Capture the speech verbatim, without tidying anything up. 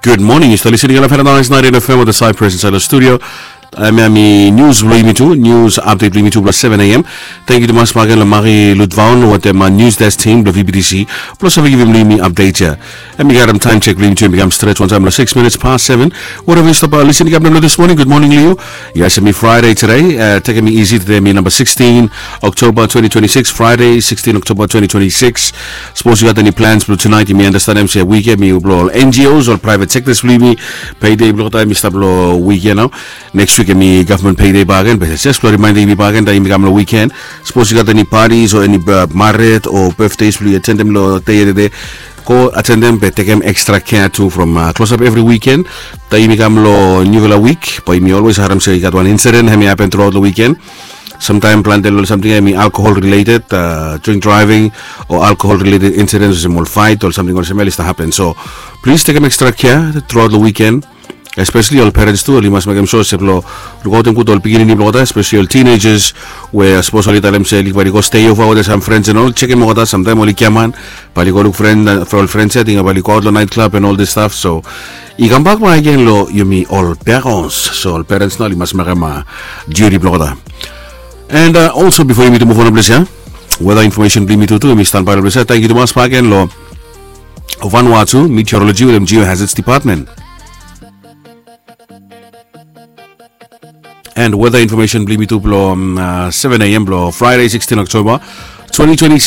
Gud moning, yu stap listening long Paradise ninety-nine F M wetem Cyprus insaed long studio. Hemia hemi nius blong yumi tu, nius apdet blong yumi tu blong seven a.m. Tangkiu tumas bakegen long Mari Lutvaon wetem nius desk tim blong V B T C blong save givim long yumi apdet ya. Hemi gat taem sek blong yumi tu hemi kam stret wantaem long six minutes past seven. Wherever yu stap listening kam long this morning, gud moning long yu. Yes, hemi Friday tede. Tekem it easy, tede hemi namba sixteen October twenty twenty-six, Friday sixteen October twenty twenty-six. Sapos yu gat eni plans blong tunaet, yumi andastanem se wik ya hemi blong ol N G Os, ol private sectors blong yumi. Payday blong olgeta hemi stap long wik ya nao. Next wik hemi gavman payday bakegen, be jes blong rimaendem yumi bakegen taem yumi kam long wiken. Sapos yu gat eni patis o eni mared o betdes blong yu atendem long dei ya tede, go atendem be tekem extra kea tu from klosap evri wiken. Taem yumi kam long niufala wik bae yumi olwes harem se i gat wan insiden hemi hapen truaot long wiken. Samtaem plante long ol samting ya hemi alkohol rileted, drink driving o alkohol rileted insidens olsem ol faet o ol samting olsem ya oli stap hapen. So plis tekem extra kea truaot long wiken. Espeseli ol perens tu oli mas mekem sua se blong lukaotem gud ol pikinini blong olgeta, espeseli ol teenagers, we sapos oli talem se oli bae oli go stei ova wetem sam frens and ol, jekem olgeta, samtaem oli giaman bae oli go luk ol frens ya, ating bae oli goaot long naet klab and ol dis staf. So i kambak bakegen long yumi ol perens. So ol perens nao oli mas mekem diuti blong olgeta. And olso bifo yumi tu muv on long ples ya, weta infomesen blong yumi tu tu yumi stanbae long ples ya. Tangkiu tumas bakegen long Vanuatu Meteorology wetem Geohazards Department. And weta infomesen blong yumi tu blong seven a.m. blong Friday sixteen October twenty twenty-six.